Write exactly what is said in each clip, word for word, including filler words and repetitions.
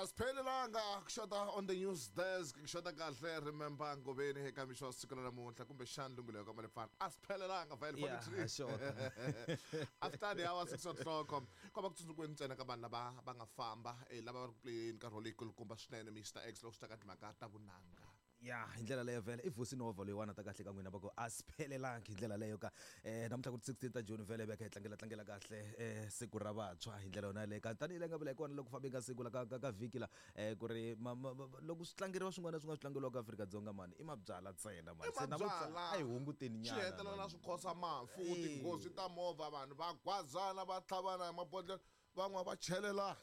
Asiphelelanga kushota on the news desk, kushota kahle. Remember Ngobeni eka mixo wa siku ra namuntlha, kumbexani lunghelo ka Malefana. Asiphelelanga vhele. Yeah, forty-three sure. After the hour six o'clock, ko va ku tsundzukweni ntsena ka vanhu lava va nga famba, eh, lava va ri ku playeni nkarhi wo leyi kulukumba swinene, Mister X, loko swi ta ka timhaka ta vunanga. Ya, hi ndlela leyo vhele i Vusi Nova loyiwani ta kahle ka n'wina va ku a swi phelelangi hi ndlela leyo ka eh namuntlha ku ri sixteen ta June, vhele va kha hi tlangela tlangela kahle eh siku ra vantshwa hi ndlela yona yaleyo. Ka tanihi leyi nga vula hi kona loko fambeni ka siku la ka ka ka vhiki la eh ku ri ma- ma- ma- loko swi tlangeriwa swin'wana swi nga swi tlangeriwaka Afrika-Dzonga mani i mabyala ntsena mani. I Se namuntlha mabyala. a hi hunguteni Swi nyana hetelela mani. Swi khosa mafu. Eh. Tinghozi ta movha, vanhu va gwazana, va tlhavana hi mabodlela, van'wana va chelela.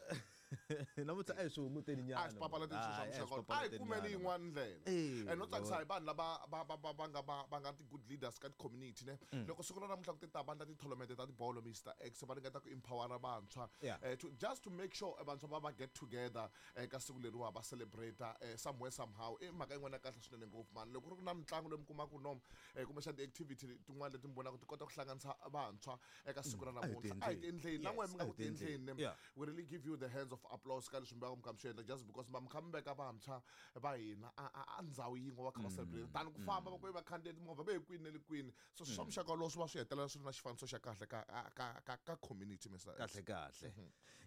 Namuntlha a hi swi hunguteni nyana. A swi papalati swilo swa Hayi, a hi swi muxaka a hi papalateni kumeni nyana, yin'wana ndlela. Eh, And no tsakisa hi vanhu lava va va va va nga va va nga ti-good leaders ka ti-community ne. Loko siku ra namuntlha ku ti ta vandla ti-tournament ta tibolo, Mister X, va ringeta ku empowera vantshwa Yeah. eh, to, just to make sure eh, vantshwa va va get together eh, ka siku leriwa va celebrate eh, somewhere somehow. I mhaka yin'wana ya kahle swinene ngopfu mani loko ku ri ku na mitlangu leyi mi kumaka no eh, kumbexana ti-activity tin'wana leti mi vonaka ti kota ku hlanganisa vantshwa eka siku ra A hi namuntlha, a hi tiendleni na n'we mi nga Yes, a ku hi tiendleni. tiendleni ne. Yeah. We really give you the hands of applause ka leswi mi va mi kha mi swi endla, just because ma mi kha mi veka vantshwa va hina a a- a ndhawu yin'we, va kha va celebrate tani ku famba va ku va khandziya timovha va ye kwini na le kwini. So swa muxaka wolowo swi va swi hetelela swi ri na xifaniso xa kahle ka ka ka ka community, Mister X. Kahle kahle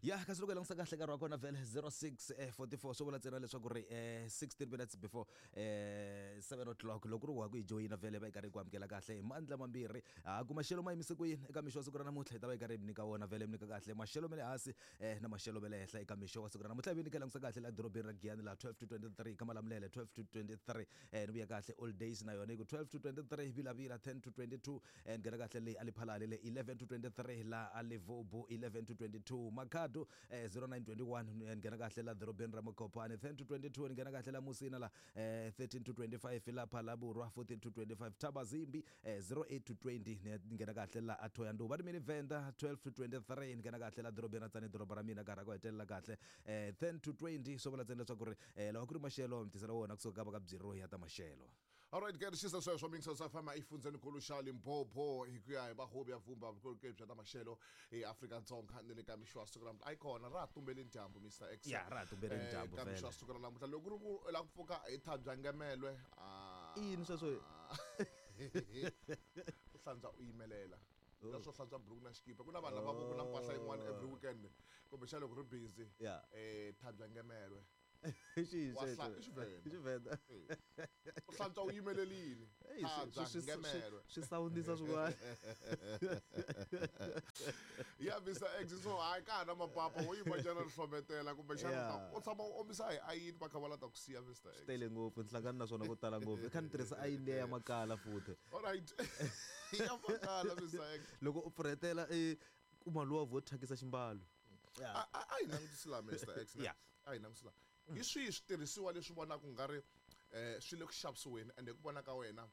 ya, kasi loko hi langutisa kahle nkarhi wa kona vhele zero six eh, forty-four, swi vula ntsena leswaku ri eh, sixteen minutes before eh, seven o'clock. Loko ri wa ku hi joyina vhele, va yi karhi yi ku amukela kahle hi mandla mambirhi. Ha ku maxelo ma yimise ku yini eka mixo wa siku ra namuntlha, hi ta va yi karhi hi mi nyika wona vhele, mi nyika kahle maxelo ma le hansi eh, na maxelo ma le henhla eka mixo wa siku ra namuntlha. Hi vi nyika langutisa kahle la dorobeni ra Giyani la twelve to twenty-three, ka Malamulele twelve to twenty-three, eh, ni vuya kahle All Days na yona yi ku twelve to twenty-three, Vilavila ten to twenty-two, eh, ni nghena kahle leyi Aliphalale le eleven to twenty-three, la Alevobu eleven to twenty-two, Makhado eh, zero nine twenty-one, eh, ni nghena kahle la dorobeni ra Mokopane ten to twenty-two, ni nghena kahle la Musina la eh, thirteen to twenty-five, lapha la Borwa fourteen to twenty-five, Thabazimbi eh, zero eight to twenty, ni nghena kahle la Athoyandou va rimini Venda twelve to twenty-three, ni nghena kahle la dorobeni ra Tsani, doroba ra mina, karhi ku hetelela kahle eh, ten to twenty. Swo vula ntsena leswaku ri eh, lawa ku ri maxelo mi tisela wona kusuka ka va ka byiro ya ta maxelo. Alright ke, xisa sweswo mingisa sa fama efundzeni-nkulu xa Limpopo hi ku ya hi vahovi ya vumba vukorhokeri bya ta maxelo eAfrika-Dzonga ni le ka mixo wa siku ra namuntlha. A yi kona, ra ha tumbeleni dyambu, Mister X. Ya, ra ha tumbeleni Eh, dyambu ka mixo wa vhele. siku ra namuntlha, loko ku ri ku u lava ku pfuka hi thabya ngemelwe, ah, I yini sweswo? U hlantswa u yimelela na swo hlantswa buruku na xikipa. Ku na vanhu lava vo ku na mpahla yin'wana every weekend, kumbexana loko ri busy, Yeah. eh thabya ngemelwe. I xihi Wa hla- sweswo? I Xivenda. I Xivenda. U hlantswa u yimelelini. Hey, swi- Thabya swi- swi- ngemelwe. swi sawundisa swin'wana. Ya, Mister X, so hayi, ka ha na mapapa wo yima njhani ri hlometela, kumbexana Yeah. u ta- u tshama u omisa hi ayini, va kha va la ta ku siya, Mister X. Tele ngopfu, ni hlangana na swona ko tala ngopfu. I kha ni tirhisa ayini liya ya makala futhi. Alright, ya makala, Mister X. Loko u pfurhetela i kuma luwa vo thyakisa ximbalo. A a- a hi langutisi laha, Mister X, ne? Yeah. A hi langutisi laha, hi swihi switirhisiwa leswi vonaka ku nga ri um swi le ku xavisiweni, ende hi ku vona ka wena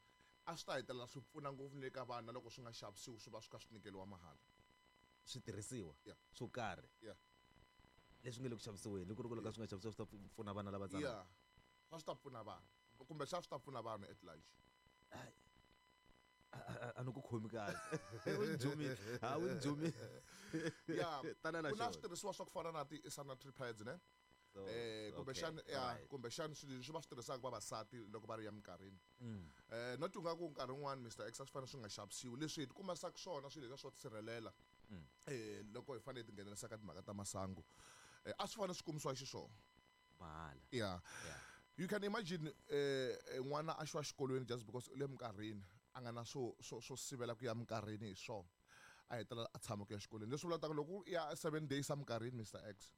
a swi ta hetelela swi pfuna ngopfu ni le ka vana loko swi nga xavisiwi, swi va swi kha swi nyikeliwa mahala? Switirhisiwa Yeah. swo karhi Yeah. leswi nga le ku xavisiweni, loko ri ku loko swi nga xavisiwa swi ta pfuna vana lava tsanana? Yeah, a swi ta pfuna vanhu, kumbe xa swi ta pfuna vanhu at large. A- a a ni ku khomi kahle, u ni jumile, ha u ni jumile. Ya. Tana na Ku na xona. switirhisiwa swa ku fana na ti-sanitary pads ne. So, eh kumbexana okay, ya alright. kumbexana swilo leswi va swi tirhisaka vavasati loko va ri ya minkarhini, Mm. eh not nga ku nkarhi wun'wani, Mister X, a swi fanele swi nga xavisiwi leswi hi tikumasaka swona swilo leswiya swo tisirhelela Mm. eh loko hi fanele hi tinghenelerisa ka timhaka ta masangu, eh a swi fanele swi kumisiwa xiswona Mahala. Yeah. Yeah. You can imagine eh eh, n'wana a xiwa xikolweni just because u le minkarhini, a nga na swo swo swo sivela ku ya minkarhini hi swona, a hetelela a tshama ku ya xikolweni. Leswi vulaka loko u ya seven days a minkarhini, Mister X,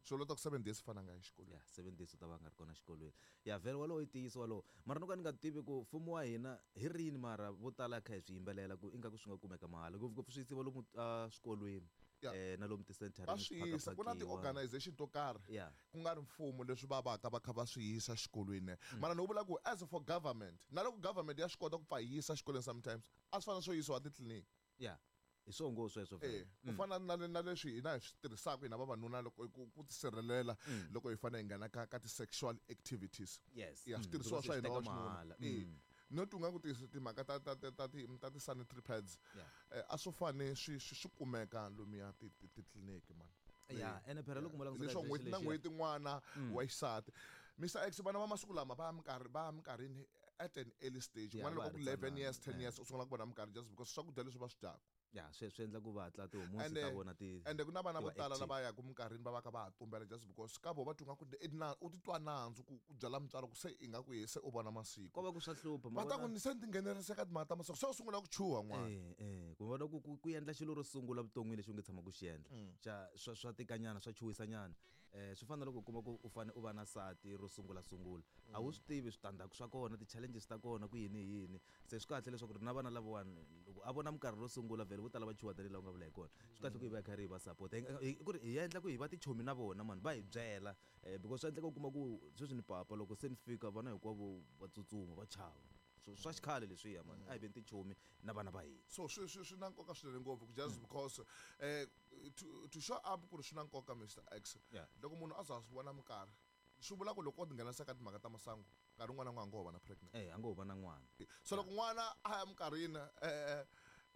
swi vulaka ku seven days fana nga yi xikolweni. Ya, seven days u ta va a nga ri kona xikolweni. Ya, vhele walowo i ntiyiso walowo, mara no ka ni nga tivi ku mfumo wa hina hi rini, mara vo tala kha hi swi yimbelela ku ingaku swi nga kumeka mahala, ngopfungopfu swi yisiwa lomu a swikolweni Ya. eh na lomu ti-centereni. Va swi yisa, ku na ti-organization to karhi Yeah. ku nga ri mfumo leswi va vaka va kha va swi yisa xikolweni, mara ni vula ku as for government, na loko government ya swi kota ku pfa yi yisa xikolweni, sometimes a swi fanele swo yisiwa titliliniki. Ya, hi swo ngo sweswo Eh, vhele. ku fana na le- na leswi hina hi swi tirhisaka hina vavanuna loko ku ku tisirhelela loko hi fanele hi nghena ka ka ti-sexual activities. Yes. Ya, Mm, switirhisiwa because swa swi hina teka wa xinuna. mahala. Eh, Mm. not u nga ku ti- timhaka ta ta ta ta ti ta ti-sanitary pads, Yeah. eh, a swo fane swi swi swi kumeka lomuya ti- ti- titliliniki man. Ya, ene phela loko mo langutisa Leswo kahle n'hweti na lexiya- n'hweti n'wana wa xisati, Mister X, vana va masiku lama va ya minkarhi va ya minkarhini at an early stage. Yeah, N'wana va loko ha ku ri eleven ntsanana, years, ten yeah. years, u sungula ku vona minkarhi just because swakudya leswi va swi dyaka. Ya, swi swi endla ku va hatla ti-hormones Ende ta vona ti ende ku na vana ti vo va tala active. Lava yaka minkarhini va va kha va ha tumbela just because ka vo va twa nga ku i na u titwa nandzu ku ku byela mutswari ku se ingaku ye se u vona masiku. Ko va ku swa hlupha ma Va ta ku vona- ni se ni tinghenelerisa ka timhaka ta masiku, se u sungula ku chuha n'wana. Eh, eh, ku vona ku ku ku endla xilo ro sungula vuton'wini lexi u nge tshama ku xi endla xa swa swa tikanyana, swa chuhisanyana. eh swi fana na loko u kuma ku u fane u va na sati ro sungula sungula, a wu swi tivi switandzhaku swa kona, ti-challenges ta kona, ku yini yini. Se swi kahle leswaku ri na vana lavawani loko a vona minkarhi ro sungula, vhele vo tala va chuha tanihi laha u nga vula hi kona. Swi kahle ku hi va hi karhi hi va support, Hi- ku ri hi endla ku hi va tichomi na vona mani, va hi byela, eh because swa endleka u kuma ku sweswi ni papa, loko se ni fika vana hinkwavo va tsutsuma, va chava. So swa xikhale leswiya mani, a hi veni tichomi na vana va hina. So swi swi swi na nkoka swinene ngopfu, just because eh to, to show up ku ri swi na nkoka, Mister X, Yeah. loko munhu a za a swi vona minkarhi, swi vula ku loko o tinghenisa ka timhaka ta masangu nkarhi wun'wana na wun'wana a ngo ho va na pregnant. Eh, a ngo ho va na n'wana. So loko n'wana a ya minkarhini eh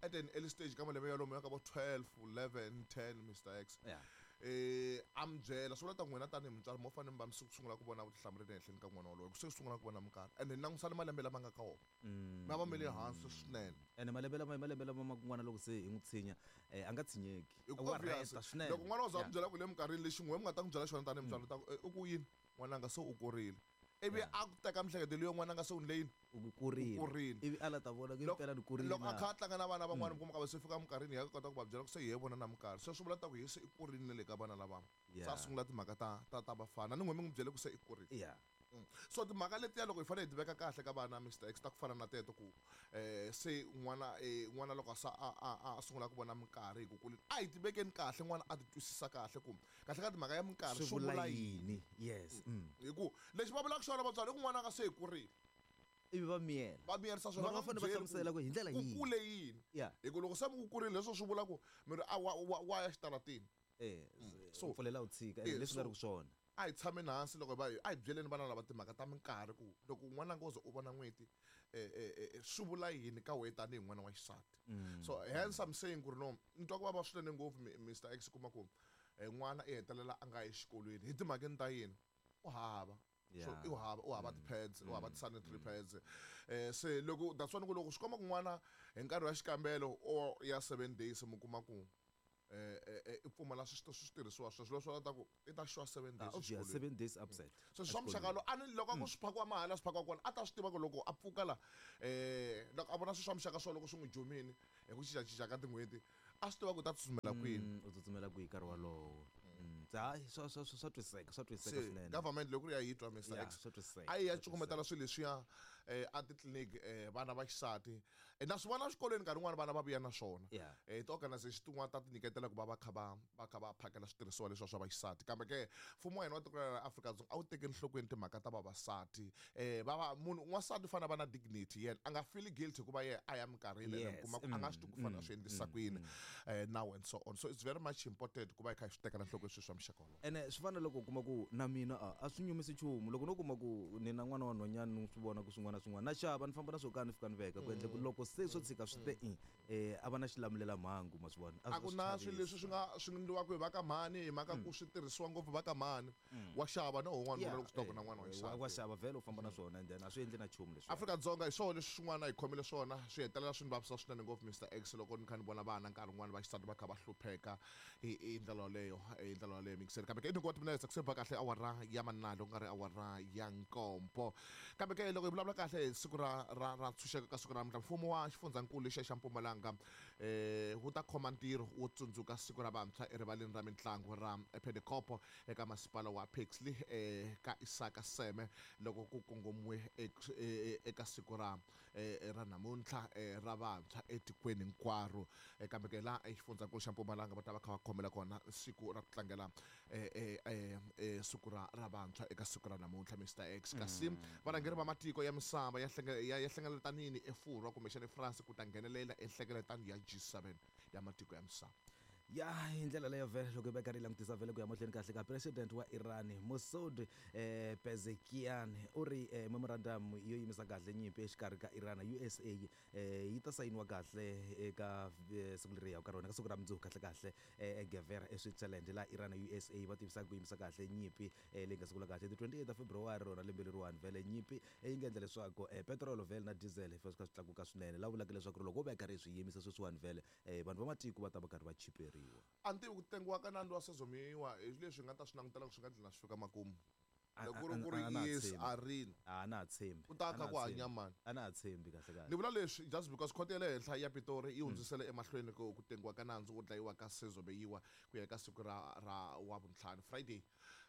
at an early stage ka malembe yalomo ya ka vo twelve, eleven, ten, Mister X, Yeah. eh a mi byela, swi vula ta n'wina tanihi mutswari mo fanele mi va mi sungula ku vona vutihlamuleri ehenhleni ka n'wana wolowo, ku se sungula ku vona minkarhi ende ni langusana malembe lama nga ka wona Mm, ma va ma le hansi swinene. Ene malembe lama malembe lama ma n'wana loko se hi n'wi tshinya, eh a nga tshinyeki. Hi ku Wa obvious, rheta swinene. loko n'wana wo za Yeah. mi byela ku le minkarhini lexi n'we mi nga ta n'wi byela xona tanihi mutswari, ta ku eh, u ku yini, n'wananga se u kurile, ivi Yeah. a ku teka mihleketo leyo, n'wananga se u ni leyini, U kurile. U kurile. Ivi a la ta vona ku Loko- impela ni kurile loko a na. kha a tlanga na vana van'wana, mi kuma ka va se fika minkarhini ya kota ku va byela ku se hi ye vona na minkarhi, se swi vula ta ku hi se i kurile na le ka vana lava, se a Yeah. sungula timhaka ta ta ta vafana ni n'we mi n'wi byele ku se i kurile. Yeah. Mm. So timhaka letiya loko hi fanele hi ti veka kahle ka vana, Mister X, ta ku fana na teto ku eh se n'wana eh n'wana loko a sa a a a sungula ku vona minkarhi hi ku kuleni, a hi ti vekeni kahle, n'wana a ti twisisa kahle ku kahle ka timhaka ya minkarhi swi swi vula vula yini. yini? Yes. Mm. Hi ku lexi va vulaka xona vatswari i ku n'wana nga se hi kurile, Ivi va miyela. Va miyerisa swona. Mara va va fanele va hlamusela ku hi ndlela ku yihi. kule yini. Yeah. Hi ku loko se mi ku kurile, leswo swi vula ku mi ri a wa wa wa ya xitaratini. Eh, So- so pfulela u tshika Eh, ene leswi nga so- ri ku swona. A hi tshameni hansi loko va a hi byeleni vana lava timhaka ta minkarhi ku loko n'wana ngo ze u vona n'hweti, eh, eh, eh, swi vula yini ka wehe tanihi n'wana wa xisati. So hence I'm saying ku ri no, ni twa ku vava swinene ngopfu, mi- Mister X, kuma ku eh, n'wana i hetelela a nga yi exikolweni hi timhakeni ta yini, u hava. So Yeah. i hava u hava ti-pads, u hava ti-sanitary pads. eh se loko that's why ni ku loko swi komba ku n'wana hi nkarhi wa xikambelo or ya seven days, mi kuma ku eh eh, eh, i pfumala swi switirhisiwa sweswo, leswo ta ku i ta xiwa seven Ah, days obvious, exikolweni. seven days upset. So swa muxaka lowu a ni loko a ku swi phakiwa mahala, swi phakiwa kona, a ta swi tiva ku loko a pfuka la, eh loko a vona swilo swa muxaka swo loko swi n'wi jumini hi ku cincacinca ka tin'hweti, a swi tiva ku u ta tsutsumela kwini. Mm, u tsutsumela kwihi nkarhi wolowo. Mm. Se, hayi, swa swa swa swa twisiseka, swa twisiseka Se swinene. government loko ri ya yi twa, Mister Yeah, X, swa twisiseka, a yi ya swa cukumetela swilo leswiya eh a titliliniki, eh vana va xisati. Eh, na swi vona exikolweni nkarhi wun'wani vana va vuya na swona. Yeah. Eh ti-organization tin'wana ta ti nyiketela ku va va kha va va kha va phakela switirhisiwa leswiya swa vaxisati, kambe ke mfumo wa hina wa tiko ra Afrika-Dzonga a wu tekeli enhlokweni timhaka ta vavasati. eh va va munhu n'wansati u fanele a va na dignity, yena a nga feel guilty hikuva yena a ya minkarhini ene mi Yes. kuma ku a nga swi tivi ku fanele a swi endlisa ku yini, eh now and so on. So it's very much important ku va hi kha hi swi tekela enhlokweni swilo swa muxaka wolowo. Ene swi fana loko u kuma ku na mina a a swi nyumisi nchumu loko no kuma ku ni na n'wana wa nhwanyana, ni swi vona ku swin'wana na swin'wana na xava, ni famba na swo ka ni fika ni veka ku endla ku loko se swo tshika swi te i eh a va na xilamulela mhangu, ma swi vona. A ku na swilo leswi swi nga swi endliwaka hi va ka mhani, hi mhaka ku swi tirhisiwa ngopfu va ka mhani, wa xava na wun'wana Yeah, loko swi tiva ku eh, na n'wana wa wa xisati. wa xava vhele u famba na swona, and then a swi endli na nchumu leswi. Afrika-Dzonga hi swona leswi swin'wana hi khomile swona, swi hetelela swi ni vavisa swinene ngopfu, Mister X, loko ni kha ni vona vana nkarhi wun'wana va xisati va kha va hlupheka hi hi ndlela yoleyo, hi ndlela yoleyo mikiseni. Kambe ke i twenty minutes ku se ba kahle awara ya manalo, ku nga ri awara ya nkombo. Kambe ke loko hi vulavula kahle hi siku ra ra ra ntshunxeko ka siku ra namuntlha, mfumo wa xifundzankulu lexiya xa Mpumalanga eh wu ta khoma ntirho wo tsundzuka siku ra vantshwa erivaleni ra mitlangu ra Pedekopo eka masipala wa Pixley eh ka Isaka Seme, loko ku kongomiwe ek- e- e- eka siku ra eh, ra namuntlha eh, ra vantshwa etikweni hinkwaro. Eh, kambe ke laha exifundzankulu xa Mpumalanga va ta va kha va khomela kona siku ra ku tlangela eh, eh, eh, eh, siku ra ra vantshwa eka siku ra namuntlha, Mister X. Kasi varhangeri va matiko ya misava ya hlenge- ya ya hlengeletanini eFurwa kumbexana eFrance ku ta nghenelela enhlengeletano ya G seven ya matiko ya misava. Ya hi ndlela leyo vhele loko hi va karhi hi langutisa vhele ku ya mahlweni kahle ka president wa Iran Masoud eh, Pezeshkian u ri eh, memorandum yo yimisa kahle nyimpi exikarhi ka Iran na U S A eh, yi ta sayiniwa kahle eka eh, siku leri yaka ka rona ka siku ra mundzuku kahle kahle eh, eGevera eSwitzerland laha Iran na U S A va tivisaka ku yimisa kahle nyimpi eh, leyi nga sungula kahle ti twenty-eight ta February rona lembe leriwani vhele nyimpi yi nga endla leswaku eh, petrol vhele na diesel swi kha swi tlakuka swinene laha vulaka leswaku loko wo va karhi swi yimisa sweswiwani vhele eh, vanhu va matiko va ta va karhi va chiperiwa. A ni tivi ku tengiwa ka nandzu wa Senzo Meyiwa hi leswi nga ta swi langutela ku swi nga dlina swi fika makumu. Loko ku ri ku ri yes a rini. A na ha tshembi. Ku ta kha ku hanya mani. A na ha tshembi kahle kahle. Ni vula leswi just because khoto ya le henhla ya Pitori yi hundzisele emahlweni ku ku tengiwa ka nandzu wo dlayiwa ka Senzo Meyiwa ku ya eka siku ra ra wa vuntlhanu Friday.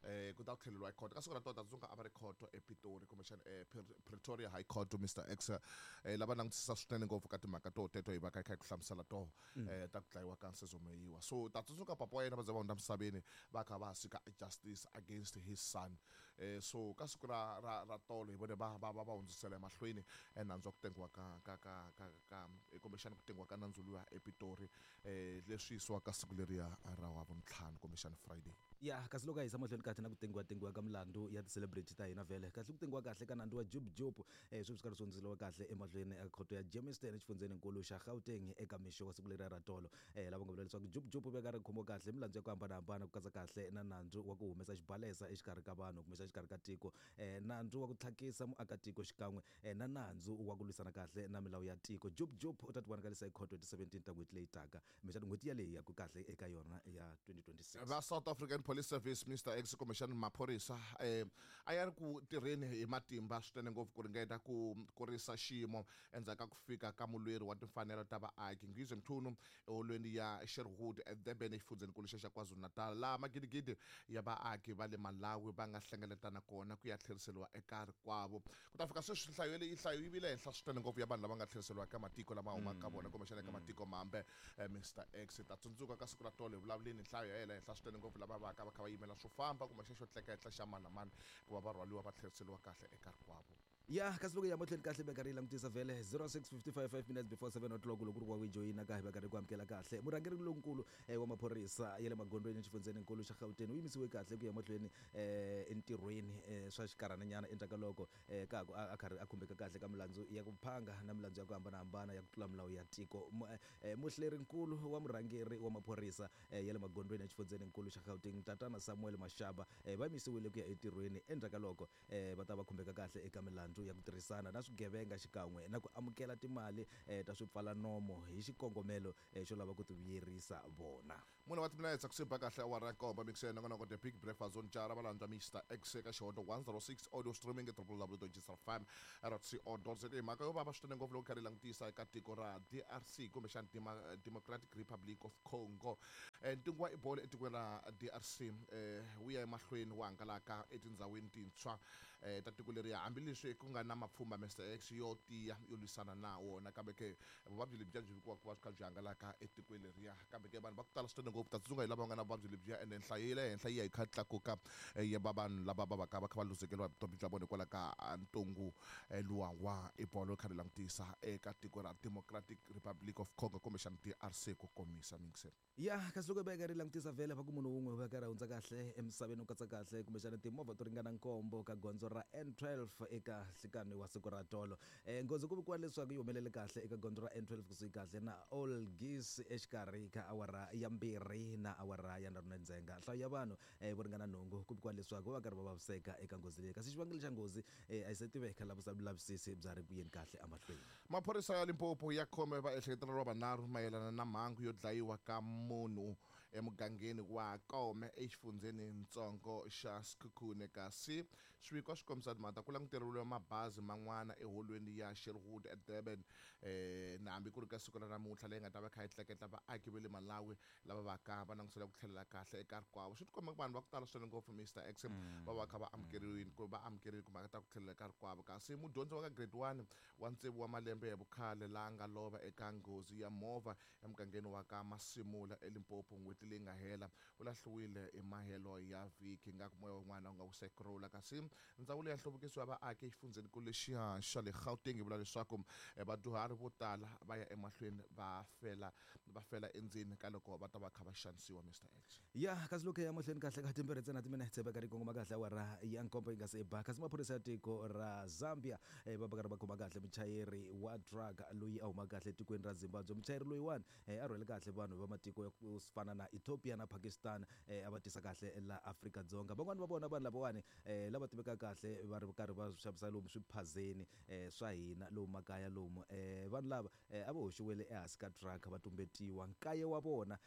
Eh ku ta tlheleriwa ekhoto ka siku ra tota tsundzuka a va ri khoto ePitori kumbexana eh, Pretoria High Court Mister X eh, lava langutisisa swinene ngopfu ka timhaka to teto hi va kha hi ku hlamusela toho eh, ta ku dlayiwa ka Senzo Meyiwa. So ta tsundzuka papa wa yena va za va hundza misaveni va kha va sika justice against his son. Eh, so ka siku ra ra ra tolo hi vone va va va va hundzisela emahlweni nandzu wa ku tengiwa ka ka ka ka ka kumbexana ku tengiwa ka nandzu luya ePitori eh leswi yisiwaka siku leriya ra wa vuntlhanu kumbexana Friday. Ya kasi loko a yisa mahlweni kahle na ku tengiwa tengiwa ka milandzu ya ti-celebrity ta hina vhele kahle ku tengiwa kahle ka nandzu wa Jub Jub eh, swi swi karhi swi hundziseriwa kahle emahlweni eka khoto ya Germiston exifundzheninkulu xa Gauteng eka mixo wa siku leriya ra tolo eh, lava nga vula leswaku Jub Jub u veka ri khomiwa kahle milandzu ya ku hambanahambana ku katsa kahle na nandzu wa ku humesa xibalesa exikarhi ka vanhu kumbe exikarhi ka tiko eh, nandzu wa ku tlhakisa muakatiko xikan'we eh, na nandzu wa ku lwisana kahle na milawu ya tiko. Jub Jub u ta tivonakalisa ekhoto hi ti seventeen ta n'hweti leyi taka kumbexana n'hweti yaleyi ya ku kahle eka yona ya twenty twenty-six. Va South African Police Service Mister X kumbexana maphorisa eh, a ya ri ku tirheni hi matimba swinene ngopfu ku ringeta ku kurisa xiyimo endzhaku ka ku fika ka mulweri wa timfanelo ta vaaki Ngizwe Mchunu eholweni ya Sherwood eDurban exifundzheninkulu xa KwaZulu-Natal laha magidigidi ya vaaki va le Malawi va nga hlengeletana kona ku ya tlheriseriwa eka rikwavo. Ku ta fika sweswi nhlayo leyi nhlayo yi vile henhla swinene ngopfu ya vanhu lava nga tlheriseriwa eka matiko lama humaka ka vona kumbexana eka matiko mambe. Mister X ta tsundzuka ka siku ra tolo hi vulavuleni nhlayo ya yena henhla swinene ngopfu lava va ka va kha va yimela swo famba kumbexana xo tleketla xa mani na mani ku va va rhwaliwa va tlheriseriwa kahle eka rikwavo. Ya kasi loko ya mahlweni kahle va karhi yi langutisa vhele zero six fifty-five five minutes before seven o'clock loko ku ri wa ku joyina ka hi va karhi ku amukela kahle murhangeri lonkulu eh, wa maphorisa ya le magondzweni exifundzheninkulu xa Gauteng u yimisiwe kahle ku ya mahlweni eh, entirhweni eh, swa xinkarhananyana endzhaku ka loko eh, ka ha ku a karhi a khumbeka kahle ka milandzu ya ku phanga na milandzu ya ku hambanahambana ya ku tlula milawu ya tiko. Eh, muhlerinkulu wa murhangeri wa maphorisa eh, ya le magondzweni exifundzheninkulu xa Gauteng Tatana Samuel Mashaba eh, va yimisiwile ku ya entirhweni endzhaku ka loko eh, va ta va khumbeka kahle eka milandzu ya ku tirhisana na swigevenga xikan'we na ku amukela timali eh, ta swipfalanomo hi xikongomelo eh, xo lava ku ti vuyerisa vona. Mune wa timinetse ku siba kahle awara ya nkombo mixeni nongonoko The Big Breakfast Zone jara va landza Mister X eka xihondo one zero six audio streaming e w w w dot g s f m dot co dot z a. Mhaka yo vava swinene ngopfu loko karhi langutisa eka tiko ra D R C kumbexana Democratic Republic of Congo. Ntungu wa Ebola etikweni ra D R C eh, wu ya emahlweni wu hangalaka etindhawini tintshwa eh, ta tiko leriya hambileswi ku nga na mapfhumba Mister X yo tiya yo lwisana na wona kambe ke vuvabyi lebyiya byi vikiwaka ku va swi kha byi hangalaka etikweni leriya kambe ke vanhu va ku tala swinene ngopfu ta tsundzuka hi lava nga na vuvabyi lebyiya ene nhlayo ya le henhla yi ya yi kha tlakuka ya va vanhu lava va va ka va kha va luzekeriwa hi vutomi bya vona hikwalaho ka ntungu luwa wa Ebola kha ri langutisa eka tiko ra Democratic Republic of Congo kumbexana D R C ku komisa mingiselo. Ya kasi loko va karhi langutisa vhele va ku munhu wun'we va karhi hundza kahle emisaveni u katsa kahle kumbexana timovha to ringana nkombo ka gondzo ra N twelve eka nhlikani wa siku ra tolo. Eh, nghozi ku vikiwa leswaku yi humelele kahle eka gondzo ra N twelve kusuhi kahle na Olgis exikarhi ka awara ya mbirhi na awara ya nharhu na ndzhenga. Nhlayo ya vanhu eh, vo ringana nhungu ku vikiwa leswaku va karhi va vaviseka eka nghozi leyi kasi xivangelo xa nghozi eh, a yi se tiveka la vulavisisi bya ri ku yeni kahle emahlweni. Maphorisa ya Limpopo ya khome vaehleketeleriwa vanharhu mayelana na mhangu yo dlayiwa ka munhu emugangeni wa Kome exifundzhenintsongo xa Sekhukhune kasi swiviko swi kombisa timhaka ku languteriwile mabazi man'wana eholweni ya Sherwood eDurban eh, na hambi ku ri ka siku ra namuntlha leyi nga ta va kha yi tleketla vaaki va le Malawi lava va ka va langutisela ku tlhelela kahle eka rikwavo. Swi tikomba ku vanhu va ku tala swinene ngopfu Mister X va va kha va amukeriwile ku va amukeriwile timhaka ta ku tlhelela ka rikwavo kasi mudyondzi wa ka grade one wa tsevu wa malembe ya vukhale laha nga lova eka nghozi ya movha emugangeni wa ka Masimula eLimpopo n'hweti n'hweti leyi nga hela u lahliwile emahelo ya vhiki nga ku moya wun'wana wu nga wu sekrula kasi ndzawulo ya nhluvukiso wa vaaki exifundzhenikulu lexiya xa le Gauteng yi vula leswaku vadyuhari vo tala va ya emahlweni va fela va fela endzeni ka loko va ta va kha va xanisiwa Mister X. Ya kasi loko ya mahlweni kahle ka timbirhi ntsena timinetse va karhi kongoma kahle awara ya nkombo yi nga se ba kasi maphorisa ya tiko ra Zambia va va karhi va khoma kahle muchayeri wa drug loyi a huma kahle etikweni ra Zimbabwe. Muchayeri loyiwani a rhwele kahle vanhu va matiko ya ku fana na Ethiopia na Pakistan a va tisa kahle la Afrika-Dzonga. Van'wani va vona vanhu lavawani lava tivekaka kahle va ri karhi va xavisa lomu swiphazeni swa hina lomu makaya lomu vanhu lava a va hoxiwile ehansi ka truck va tumbetiwa nkaye wa vona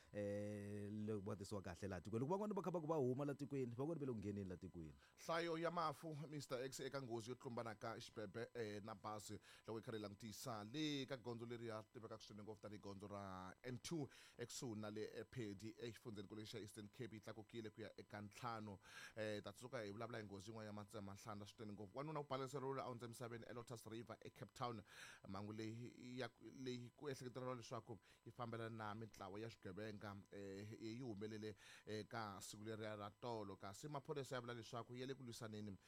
loko va tisiwa kahle laha tikweni. Loko van'wani va kha va ku va huma la tikweni van'wani va le ku ngheneni la tikweni. Nhlayo ya mafu Mister X eka nghozi yo tlumbana ka xibebe na bazi loko yi kha yi langutisa le ka gondzo leri ya tivekaka swinene ngopfu tanihi gondzo ra N two ekusuhi na le Phedi exifundzhenikulu xa Eastern Cape yi tlakukile ku ya eka ntlhanu. Ta tsundzuka hi vulavula hi nghozi yin'wana ya matsemanhlana swinene ngopfu. Wanuna u baleseriwile a hundza emisaveni eLotus River eCape Town. Mhangu leyi ya leyi ku ehleketeriwa leswaku yi fambelana na mintlawa ya swigevenga yi humelele eka siku leriya ra tolo kasi maphorisa ya vula leswaku ya le ku lwisaneni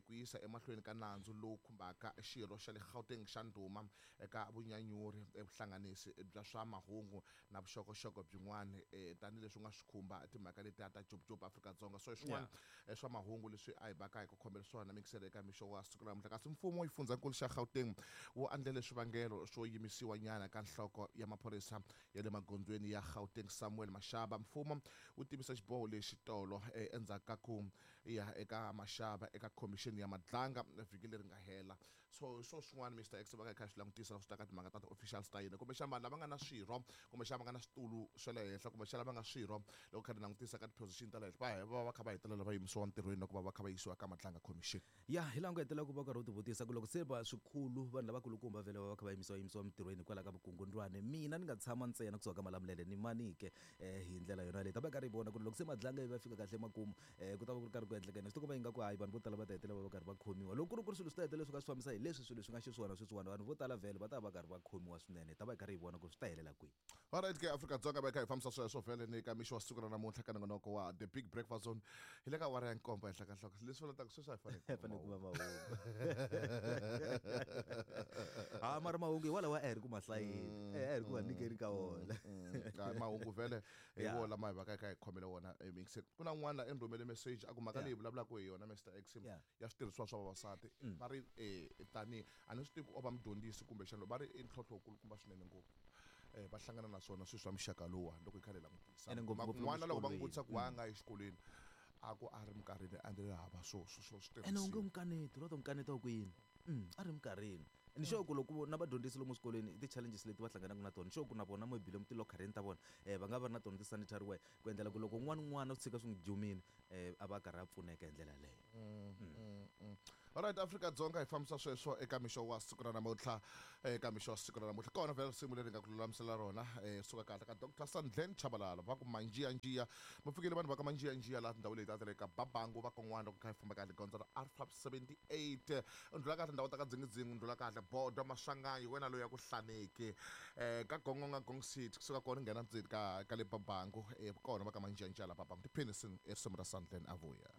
ku yisa emahlweni ka nandzu lowu khumbaka xirho xa le Gauteng xa ndhuma eka vunyanyuri vuhlanganisi bya swa mahungu na vuxokoxoko byin'wana tanihileswi nga swi khumba timhaka letiya ta Jubjub Afrika-Dzonga. So swin'wana swa mahungu leswi a hi vaka hi ku khomela swona mikiselo eka mixo wa siku ra namuntlha. Kasi mfumo xifundzankulu xa Gauteng wu andlele swivangelo swo yimisiwa nyana ka nhloko ya maphorisa ya le magondzweni ya Gauteng Samuel Mashaba. Mfumo wu tivisa xiboho lexi tolo endzhaku ka ku ya eka Mashaba eka khomixini ya Madlanga vhiki leri nga hela. So so swin'wana Mister X va ka kha swi langutisa loko swi ta ka timhaka ta ti-officials ta hina kumbexana vanhu lava nga na swirho kumbexana va nga na switulu swa le henhla kumbexana va nga swirho loko kha ri langutisa ka ti-position ta le henhla va va va kha va hetelela va yimisiwa ntirhweni loko va va kha va yisiwa ka Madlanga commission. Ya hi laha ku hetelela ku va karhi u tivutisa ku loko se va swikulu vanhu lavakulukumba vhele va va kha va yimisiwa yimisiwa emitirhweni hikwalaho ka vukungundwani mina ni nga tshama ntsena kusuka ka Malamulele ni manike hi ndlela yona leyi ta va karhi hi vona ku ri loko se Madlanga yi va fika kahle emakumu ku ta va ku ri karhi ku endleka yini swi tikomba ingaku hayi vanhu vo tala va ta hetelela va va karhi va khomiwa loko ku ri ku ri swilo swi ta hetelela swi ka swi fambisa hi leswi swilo swi nga xiswona sweswiwani vanhu vo tala vhele va ta va karhi va khomiwa swinene ta va hi karhi hi vona ku swi ta helela kwihi. Alright ke Afrika-Dzonga va kha hi fambisa sweswo vhele ni ka mixo wa siku ra namuntlha ka nongonoko wa The Big Breakfast Zone hi le ka awara ya nkombo henhla ka nhloko leswi vulaka sweswi a hi fanele fanele kuma mahungu. Ha mara mahungu hi walawa a hi ri ku mahlayeni a hi ri ku va nyikeni ka wona mahungu vhele hi wona lama hi va ka hi khomele wona emixeni. Ku na un'wana la rhumele message a ku mhaka leyi vulavulaka hi yona Mister X ya switirhisiwa swa vavasati va ri tani a ni swi tivi ku o va mudyondzisi kumbexana va ri i ntlhontlho wukulukumba swinene ngopfu va hlangana na swona swilo swa muxaka lowuwa loko hi kha hi langutisa. N'wana loko va n'wi vutisa ku wa nga exikolweni a ku a ri minkarhini a ndzi hava swo swo swo switirhisiwa ene u nge n'wi kaneti u ta n'wi kaneta ku yini a ri minkarhini. Ni sure ku loko na vadyondzisi lomu swikolweni ti-challenges leti va hlanganaka na tona ni sure ku na vona maybe lomu tilokhareni ta vona va nga va ri na tona ti-sanitary wear ku endlela ku loko un'wana n'wana u tshika swi n'wi jumile a va karhi a pfuneka hi ndlela yaleyo. Alright Afrika-Dzonga hi fambisa sweswo eka mixo wa siku ra namuntlha eka mixo wa siku ra namuntlha kona vhele risimu leri nga ku lulamisela rona suka kahle ka Doctor Sandlen Chabalala va ku manjiyanjiya va fikile vanhu va ka manjiyanjiya laha tindhawu leti ta le ka Babangu va kon'wana loko kha hi famba kahle gondzo ra R five seventy-eight u ndlula kahle ndhawu ta ka Dzingidzingi u ndlula kahle Bodo Maswanganyi wena loyi ya ku hlaneki ka Gongonga Gong City kusuka kona nghena ndzeni ka ka le Babangu kona va ka manjiyanjiya la Babangu tiphini risimu ra Sandlen a vuya.